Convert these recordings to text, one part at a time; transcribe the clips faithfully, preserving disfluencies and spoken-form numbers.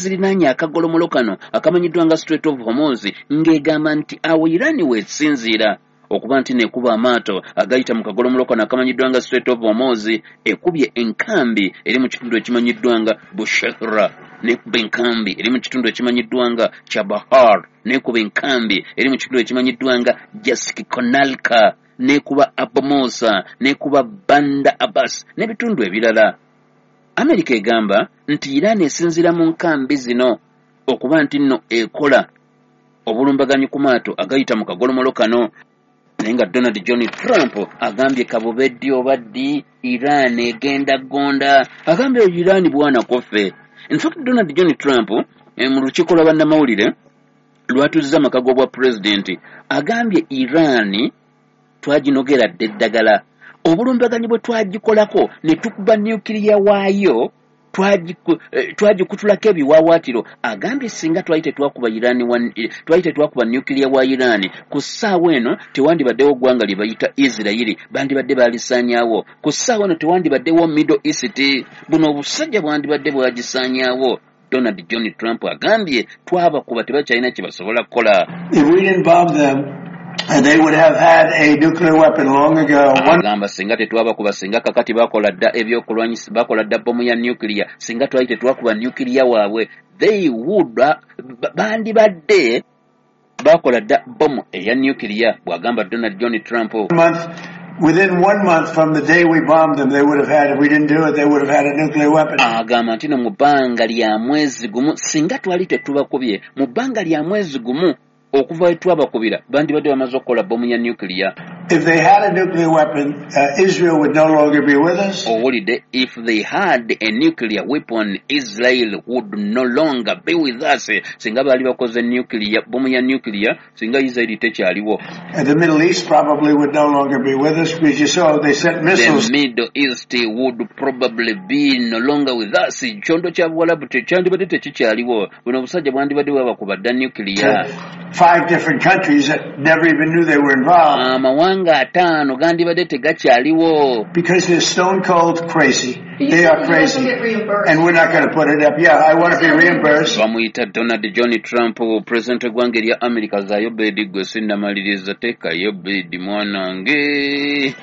Zirinaanye akagolomolo kano akamanyiddwa nga Strait of Hormuz, ng'egamba nti awo Iran weesinziira okuba nti nekuba amaato agayita mu kagolomolo kano akamanyiddwa nga Strait of Hormuz. Ekubye enkambi eri mu kitundu ekimanyiddwa nga Bushehra, nekuba enkambi eri mu kitundu ekimanyiddwa nga Chabahar, nekuba enkambi eri mu kitundu ekimanyiddwa nga Jask Konalka, nekuba Abu Musa, nekuba Banda Abbas n'ebitundu ebirala. Amerika egamba nti Iran esinziira mu nkambi zino okuba nti nno ekola obulumbaganyi ku maato agayita mu kagolomolo kano. Naye nga Donald John Trump agambye kabube ddi oba ddi, Iran egenda gonda. Agambye Iran bwana koffe. In fact, Donald John Trump eh, mu lukiiko lwa bannamawulire lwatuzza amaka g'obwa pulezidenti, agambye Iran twaginogera dda eddagala, obulumbaganyi bwe twagikolako ne tukuba nukiriya waayo, twagikutulako ebiwaawaatiro. Agambye singa twali tetwakuba Iran, twali tetwakuba nukiriya wa Iran, ku ssaawa eno tewandibaddewo ggwanga lye bayita Isirayiri, bandibadde baalisaanyaawo. Ku ssaawa eno tewandibaddewo Middle East, buno obusajja bwandibadde bwagisaanyaawo. Donald John Trump agambye twabakuba, tebakyalina kye basobola kukola. And they would have had a nuclear weapon long ago. Agamba singa tetwabakuba, singa kakati bakola dda ebyokulwanyisa, bakola dda bomu ya nuclear, singa twali tetwakuba nuclear waabwe, they would bandibadde bakola dda bomu eya nuclear, bw'agamba Donald John Trump. Within one month from the day we bombed them, they would have had, if we didn't do it, they would have had a nuclear weapon. Agamba nti no mu bbanga lya mwezi gumu, singa twali tetubakubye, mu bbanga lya mwezi gumu okuva we twabakubira, bandibadde bamaze okukola bomu ya nuclear. If they had a nuclear weapon, uh, Israel would no longer be with us. Owulidde, if they had a nuclear weapon, Israel would no longer be with us. Singa baali bakoze nuclear, bomu ya nuclear, singa Israel tekyaliwo. And the Middle East probably would no longer be with us because you saw they sent missiles. The Middle East would probably be no longer with us. Kyondo kya Buwalabu tekyandibadde tekikyaliwo. Buno obusajja bwandibadde bwabakuba dda nuclear. Five different countries that never even knew they were involved. Amawanga ataano gandibadde tegakyaliwo. Because they're stone cold crazy. They are crazy. And we're not going to put it up. Yeah, I want to be reimbursed. Bamuyita Donald John Trump, president w'eggwanga erya America. Zaayo bedi gwe sinnamaliriza, teekayo bedi mwanange.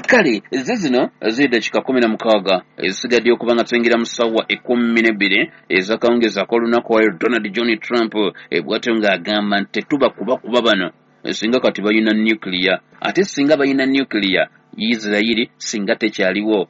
Kale ze zino ziri dakika kumi na mukaaga ezisigadde okuba nga tuyingira mu ssaawa ekkumi n'ebbiri ez'akawungeezi ak'olunaku wayo. Donald John Trump bw'atyo ng'agamba nti tetuba kubakuba bano, singa kati balina nuclear, ate singa balina nuclear, Isirayiri singa tekyaliwo,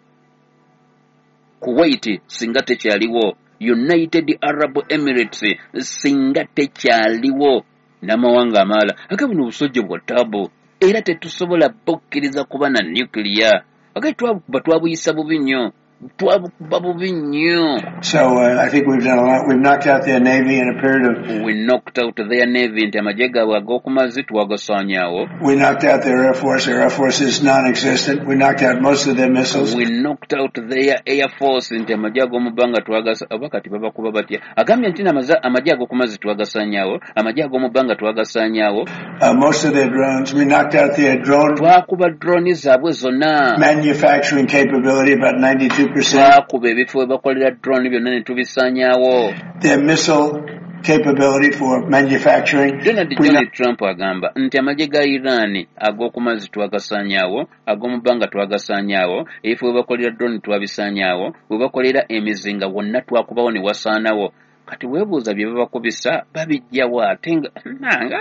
Kuwait singa tekyaliwo, United Arab Emirates singa tekyaliwo, n'amawanga amalala. Ate buno obusajja bwa ttaabu, era tetusobola bukkiriza kuba na nuclear. Ate twabukuba twabuyisa bubi nnyo, twabukuba bubi nnyo. So uh, I think we've done a lot. We've knocked out their navy in a period of... We knocked out their navy, nti amagye gaabwe ag'oku mazzi twagasaanyaawo. We knocked out their air force. Their air force is non-existent. We knocked out most of their missiles. We knocked out their air force, nti amagye ag'omu bbanga twagasa... Oba kati babakuba batya? Agambye nti amagye ag'oku mazzi twagasaanyaawo, amagye ag'omu bbanga twagasaanyaawo. Uh, most of their drones. We knocked out their drone... Twakuba drone zaabwe zonna. Manufacturing capability about ninety-two percent. Twakuba ebifo we bakolera drone byonna ne tubisaanyaawo. Their missile capability for manufacturing. Donald John Trump agamba nti amagye ga Iran ag'oku mazzi twagasaanyaawo, ag'omu bbanga twagasaanyaawo, ebifo we bakolera drone twabisaanyaawo, we bakolera emizinga wonna twakubawo ne wasaanawo. Kati weebuuza bye babakubisa babijjawo ate nga nanga.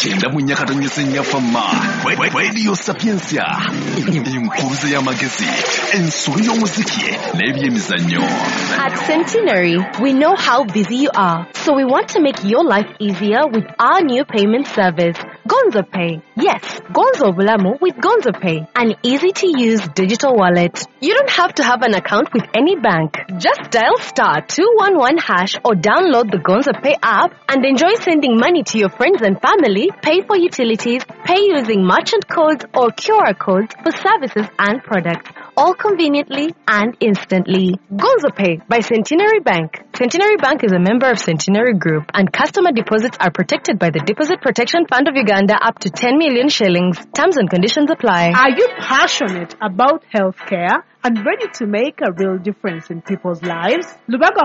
Kyenda mu nnya katonyeze nnya Fama Radio Sapientia, enkuruze y'amagezi, ensolo y'omuziki n'ebyemizannyo. At Centenary, we know how busy you are, so we want to make your life easier with our new payment service, Gonzo Pay. Yes, Gonzo Bulamu with Gonzo Pay, an easy-to-use digital wallet. You don't have to have an account with any bank. Just dial star two one one hash or download the Gonzo Pay app and enjoy sending money to your friends and family, pay for utilities, pay using merchant codes or Q R codes for services and products, all conveniently and instantly. Gonzo Pay by Centenary Bank. Centenary Bank is a member of Centenary Group, and customer deposits are protected by the Deposit Protection Fund of Uganda up to ten million shillings. Terms and conditions apply. Are you passionate about healthcare? and ready to make a real difference in people's lives? Lubaga